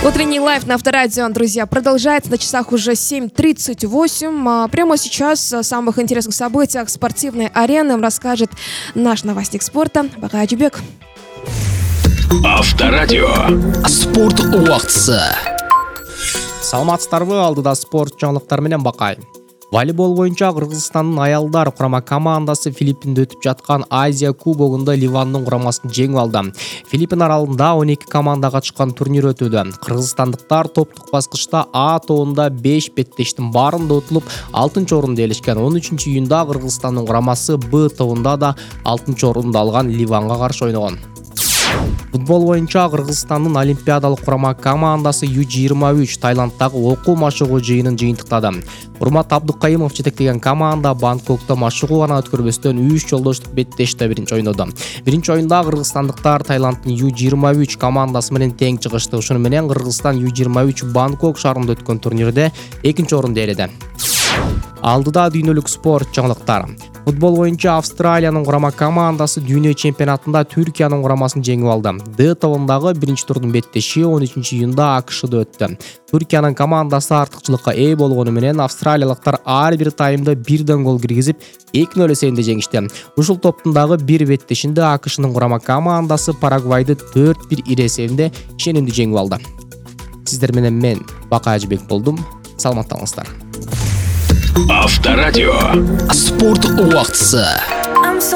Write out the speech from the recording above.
Утренний лайв на Авторадио, друзья, продолжается. На часах уже 7:38. Прямо сейчас о самых интересных событиях спортивной арены расскажет наш новостник спорта Бакай Ажибек. Авторадио. Спорт убактысы. Саламатсыздарбы, алдыда спорт жаңылыктары менен Бакай. Волейбол боюнча Кыргызстандын аялдар курама командасы Филиппинде өтүп жаткан Азия кубогунда Ливандын курамасын жеңип алды. Филиппин аралында 12 команда катышкан турнир өтүүдө. Кыргызстандыктар топтук баскычта А тобунда 5 беттештин баарында утулуп 6-орунду ээлешкен. 13-июнда Кыргызстандын курамасы Б тобунда да 6-орунду алган Ливанга каршы ойногон. Футбол боюнча Кыргызстандын олимпиадалык курама командасы Ю-23 Таиланддагы окуу машыгуу жыйынын жыйынтыктады. Урмат Абдукайымов жетектеген команда Бангкокто машыгуу гана өткөрбөстөн 3 жолдоштук беттеште биринчи ойноду. Биринчи оюнда кыргызстандыктар Таиланддын Ю-23 командасы менен тең чыгышты. Ушуну менен Кыргызстан Ю-23 Бангкок шаарында өткөн турнирде 2-орунду ээледи. Алдыда дүйнөлүк спорт жаңылыктары. Футбол боюнча Австралиянын курама командасы дүйнө чемпионатында Түркиянын курамасын жеңип алды. Д тобундагы биринчи турдун беттеши 13-июнда АКШда өттү. Түркиянын командасы артыкчылыкка ээ болгону менен австралиялыктар ар бир таймда бирден гол киргизип 2-0 эсебинде жеңишти. Ушул топтундагы бир беттешинде АКШнын курама командасы Парагвайды 4-1 ире эсебинде ишенимдүү жеңип алды. Сиздер менен мен Бакай Ажибек болдум. Саламаттаңыздар. Авторадио. Спорт убактысы.